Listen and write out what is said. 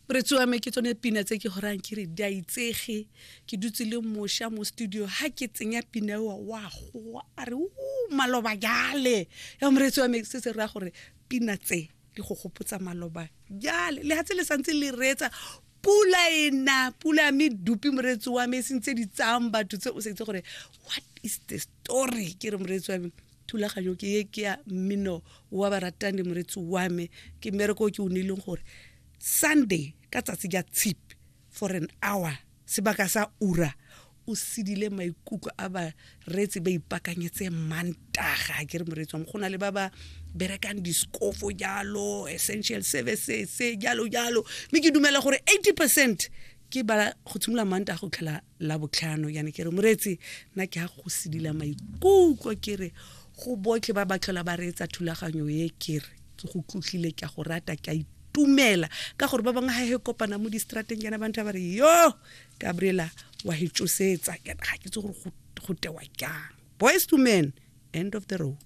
Moretsi wa me, ke tsone pina tse ke gorang ke re di a itsege. Ke dutse le moša mo studio, ha ke tsenya pina eo wa goa a re o maloba jale. Ya moretsi wa me, se se raya gore pina tse di go gopotsa maloba jale, le hatse le santse le reetsa pula e na pula ya medupi. Moreetsi wa me, e sentse di tsayang batho tse o sa itse gore what is the story. Ke re moreetsi wa me, thulaganyo ke e ke ya mmino wa baratani. Moreetsi wa me, ke mmereko o ke o neileng gore Sunday ka tsatsi ja tshipi for an hour, sebaka sa ura, o sedile maikutlo a bareetsi ba ipakanyetse Mantaga. Ke re moreetsi wa me, go na le ba ba berekang diskofo jalo, essential services jalo jalo, mme ke dumela gore 80% ke ba go tshimolola Mantaga go tlhela la botlhano. Yana ke re moreetsi, nna ke ga go sedila maikutlo. Ke re go botlhe ba ba tlhola ba reetsa thulaganyo e, ke re ke go tlotlile, ke a go rata, ke a itumela ka gore ba bangwe ga he kopana mo distrateng kana ba ntha ba re, "Yo Gabriela wa e tsosetsa." Ga ke tse gore go tewa jang. Boyz II Men, End of the Road.